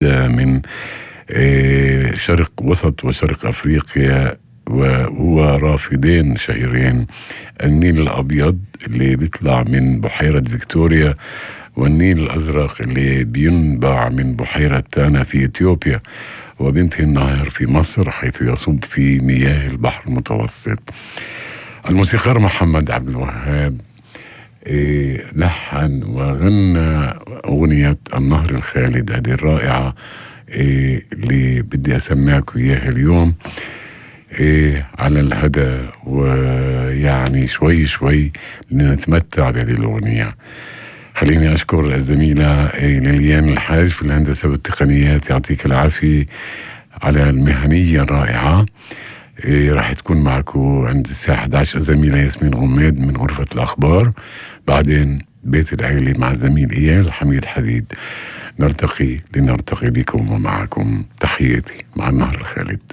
من شرق وسط وشرق أفريقيا، وهو رافدين شهيرين: النيل الأبيض اللي بيطلع من بحيرة فيكتوريا، والنيل الأزرق اللي بينبع من بحيرة تانا في إثيوبيا، وبينتهي النهر في مصر حيث يصب في مياه البحر المتوسط. الموسيقار محمد عبد الوهاب لحن وغنى أغنية النهر الخالد هذه الرائعة اللي بدي أسمعكم إياها اليوم على الهدى، ويعني شوي شوي لنتمتع بهذه الأغنية. خليني أشكر الزميلة ليليان الحاج في الهندسة والتقنيات، يعطيك العافية على المهنية الرائعة. راح تكون معكم عند الساعة 11 الزميلة ياسمين غميد من غرفة الأخبار، بعدين بيت العيلة مع الزميل إيال حميد حديد. نلتقي لنرتقي بكم ومعكم. تحياتي مع النهر الخالد.